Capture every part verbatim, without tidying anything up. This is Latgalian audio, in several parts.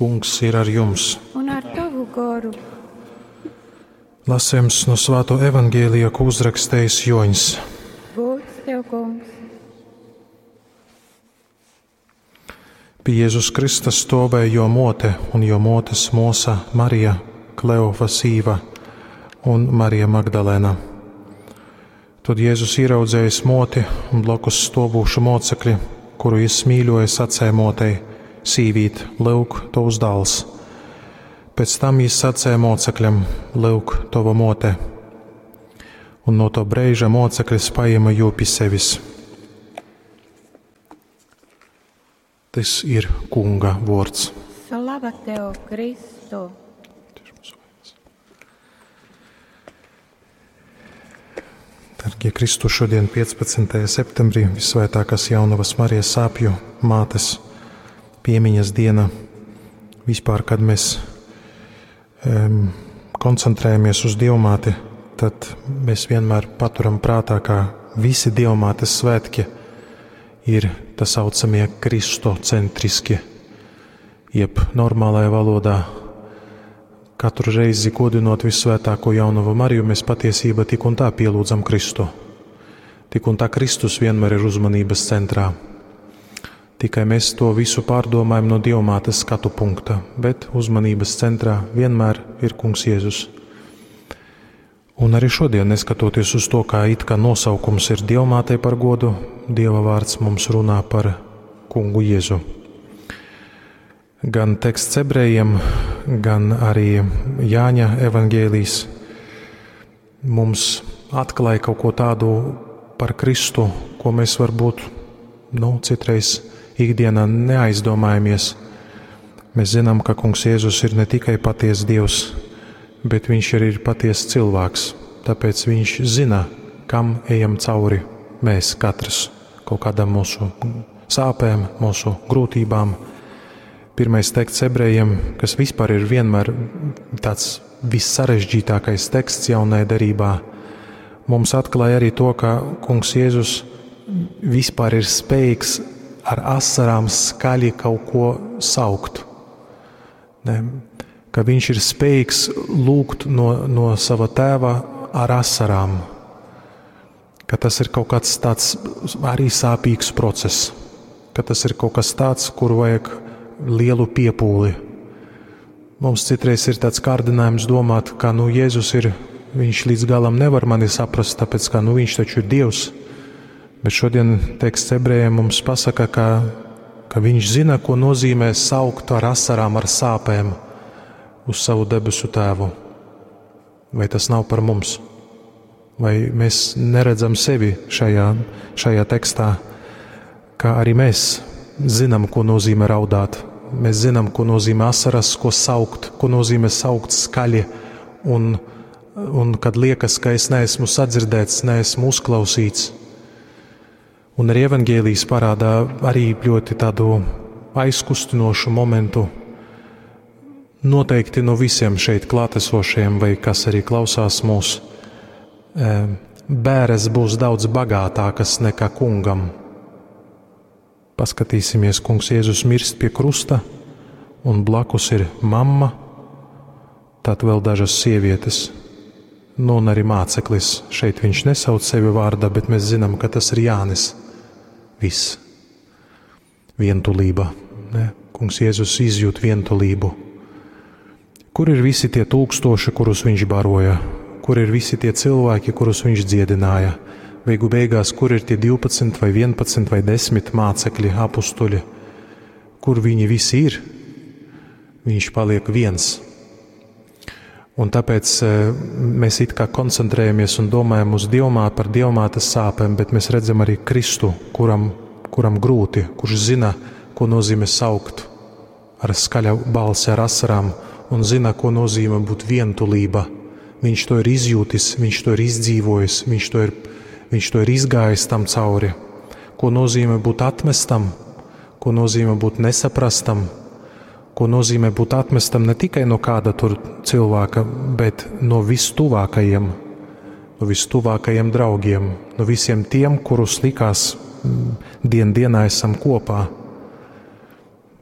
Kungs ir ar jums! Un ar tavu goru. Lasījums no Svāto Evangēlija, ko uzrakstījis Joņs. Gods tev, kungs! Pie Jēzus Krista stāvēja jo mote un jo motes mosa Marija, Kleofa sīva un Marija Magdalēna. Tad Jēzus ieraudzējis moti un blakus stāvošu mocekli, kuru jis mīļoja, sacēja motei: Sīvīt, lūk, tavs dēls. Pēc tam jis sacēja mocekļam: Lūk, tava mote. Un no to brīža moceklis paņēma jū pie sevis. Tas ir Kunga vārds. Slava tev, Kristu! Dargie Kristu, šodien piecpadsmitajā septembrī visvētākās Jaunavas Marijas sāpju mātes piemiņas diena. Vispār, kad mēs um, koncentrējamies uz Dievmāti, tad mēs vienmēr paturam prātā, ka visi Dievmātes svētki ir tā saucamie kristocentriski, jeb normālajā valodā. Katru reizi godinot visvētāko Jaunavu Mariju, mēs patiesībā tik un tā pielūdzam Kristu. Tik un tā Kristus vienmēr ir uzmanības centrā. Tikai mēs to visu pārdomājam no Dievmātes skatu punkta, bet uzmanības centrā vienmēr ir Kungs Jēzus. Un arī šodien, neskatoties uz to, kā it kā nosaukums ir Dievmātei par godu, Dieva vārds mums runā par Kungu Jēzu. Gan teksts ebrejiem, gan arī Jāņa evaņģēlijs mums atklāja kaut ko tādu par Kristu, ko mēs varbūt, nu, citreiz ikdienā neaizdomājamies. Mēs zinām, ka Kungs Jēzus ir ne tikai patiesa Dievs, bet viņš arī ir patiesa cilvēks. Tāpēc viņš zina, kam ejam cauri mēs katrs, kaut kādām mūsu sāpēm, mūsu grūtībām. Pirmais teksts ebrejiem, kas vispār ir vienmēr tāds vissarežģītākais teksts jaunajā derībā, mums atklāja arī to, ka Kungs Jēzus vispār ir spējīgs ar asarām skaļi kaut ko saukt. Ne? Ka viņš ir spējīgs lūgt no, no sava tēva ar asarām. Ka tas ir kaut kāds tāds arī sāpīgs process. Ka tas ir kaut kas tāds, kuru vajag lielu piepūli. Mums citreiz ir tāds kārdinājums domāt, ka nu, Jēzus ir, viņš līdz galam nevar mani saprast, tāpēc ka nu, viņš taču ir Dievs. Bet šodien teksts ebrejiem mums pasaka, ka, ka viņš zina, ko nozīmē saukt ar asarām, ar sāpēm uz savu debesu tēvu. Vai tas nav par mums? Vai mēs neredzam sevi šajā, šajā tekstā, ka arī mēs zinām, ko nozīmē raudāt. Mēs zinām, ko nozīmē asaras, ko saukt, ko nozīmē saukt skaļi. Un, un kad liekas, ka es neesmu sadzirdēts, neesmu uzklausīts. Un arī evaņģēlijs parādā arī ļoti tādu aizkustinošu momentu. Noteikti no visiem šeit klātesošiem, vai kas arī klausās mūs, bēres būs daudz bagātākas nekā kungam. Paskatīsimies, Kungs Jēzus mirst pie krusta, un blakus ir mamma, tad vēl dažas sievietes, nu un arī māceklis. Šeit viņš nesauc sevi vārdā, bet mēs zinām, ka tas ir Jānis. Viss. Vientulība. Ne? Kungs Jēzus izjūt vientulību. Kur ir visi tie tūkstoši, kurus viņš baroja? Kur ir visi tie cilvēki, kurus viņš dziedināja? Beigu beigās, kur ir tie divpadsmit vai vienpadsmit vai desmit mācekļi, apustuļi? Kur viņi visi ir? Viņš paliek viens. Un tāpēc, eh, mēs it kā koncentrējamies un domājam uz Dievmāti, par Dievmātes sāpēm, bet mēs redzam arī Kristu, kuram, kuram grūti, kurš zina, ko nozīmē saukt ar skaļu balsi, ar asarām, un zina, ko nozīmē būt vientulība. Viņš to ir izjūtis, viņš to ir izdzīvojis, viņš to ir, viņš to ir izgājis tam cauri. Ko nozīmē būt atmestam, ko nozīmē būt nesaprastam, ko nozīmē būt atmestam ne tikai no kāda tur cilvēka, bet no vistuvākajiem, no vistuvākajiem draugiem, no visiem tiem, kurus likās, mm, dien dienā esam kopā.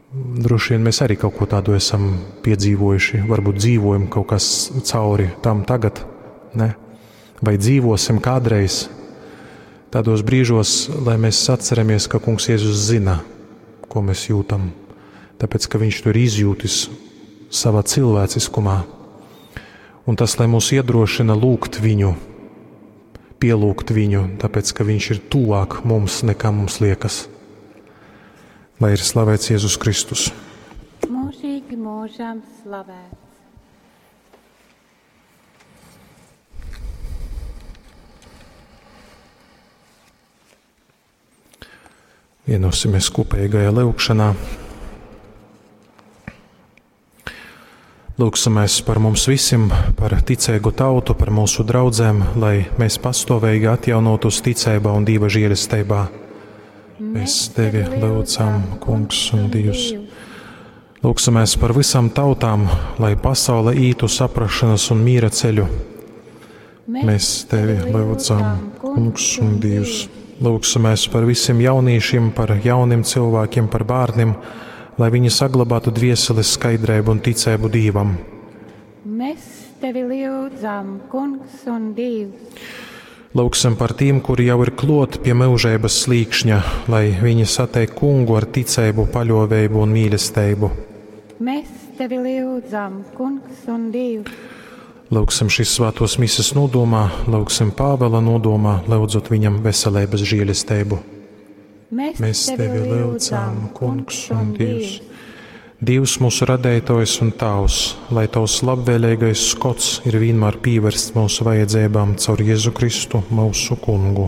Droši vien mēs arī kaut ko tādu esam piedzīvojuši, varbūt dzīvojam kaut kas cauri tam tagad, ne? Vai dzīvosim kādreiz tādos brīžos, lai mēs atceramies, ka Kungs Jēzus zina, ko mēs jūtam, tāpēc, ka Viņš to ir izjūtis savā cilvēciskumā. Un tas, lai mūs iedrošina lūgt Viņu, pielūgt Viņu, tāpēc, ka Viņš ir tuvāk mums, nekā mums liekas. Lai ir slavēts Jēzus Kristus. Mūžīgi mūžam slavēts. Vienosimies kopīgajā lūgšanā. Lūgsimies par mums visiem, par ticīgu tautu, par mūsu draudzēm, lai mēs pastāvīgi atjaunotos ticībā un Dieva žēlestībā. Mēs tevi lūdzam, Kungs un Dievs. Lūgsimies par visām tautām, lai pasaule ītu saprašanas un miera ceļu. Mēs tevi lūdzam, Kungs un Dievs. Lūgsimies par visiem jauniešiem, par jauniem cilvēkiem, par bērniem, lai viņi saglabātu dvieseles skaidrību un ticību Dievam. Mēs tevi lūdzam, Kungs un Dievs. Lūgsim par tiem, kuri jau ir klot pie mūžības slīkšņa, lai viņi satiek kungu ar ticību, paļāvību un mīlestību. Mēs tevi lūdzam, Kungs un Dievs. Lūgsim šīs svētos mises nodomā, lūgsim Pāvela nodomā, lūdzot viņam veselības žēlestību. Mēs, Mēs tevi lūdzam, Kungs un Dievs. Dievs mūsu radētājs un Tavs, lai Tavs labvēlīgais skots ir vienmēr pievērsts mūsu vajadzībām caur Jēzu Kristu, mūsu Kungu.